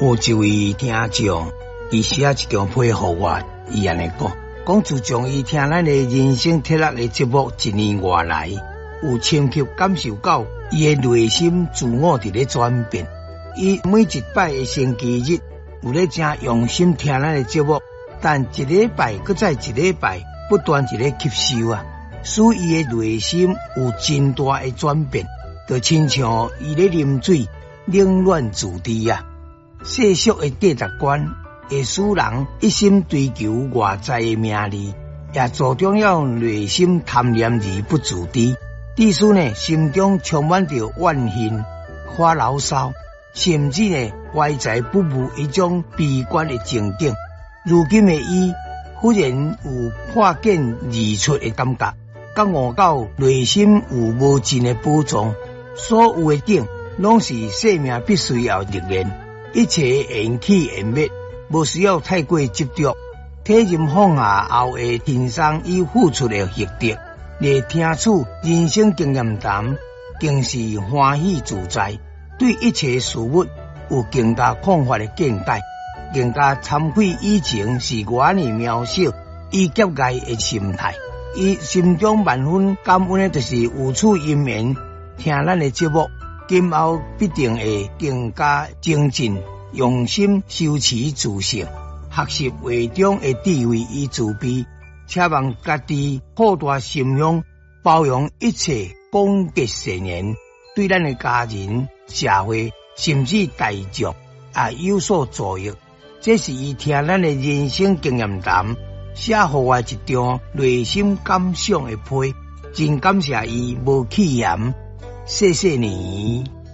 有一位聽眾，伊寫一張批予我，伊按呢講，講自從伊聽咱的人生鐵律的節目一年外來，有深刻感受到伊的內心自我佇咧轉變。伊每一擺的星期日有咧誠用心聽咱的節目，但一禮拜閣再一禮拜不斷佇咧吸收啊，使伊的內心有真大的轉變，就親像伊咧啉水冷暖自知啊。世俗的價值觀會使人一心追求外在的名利，也助長了內心貪念而不自知。致使呢，心中充滿著怨恨、發牢騷，甚至呢懷才不遇一種悲觀的情景。如今的伊忽然有破繭而出的感覺，覺悟到內心有無盡的寶藏，所有的景攏是生命必須要歷練。一切緣起緣滅，無需要太過執著。體認放下後會欣賞伊付出的獲得，來聽取人生經驗談，更是歡喜自在。對一切事物有更加廣泛的見解，更加慚愧以前是偌爾渺小以及愛的心態。伊心中萬分感恩的，就是有此因緣聽咱的節目。今後必定會更加精進，用心修持自性，學習話中的智慧與慈悲，奢望家己擴大心胸，包容一切廣結善緣，對咱的家人、社會甚至大眾也有所助益。這是伊聽咱的人生經驗談寫予我一張內心感想的批，真感謝伊無棄嫌。謝謝你。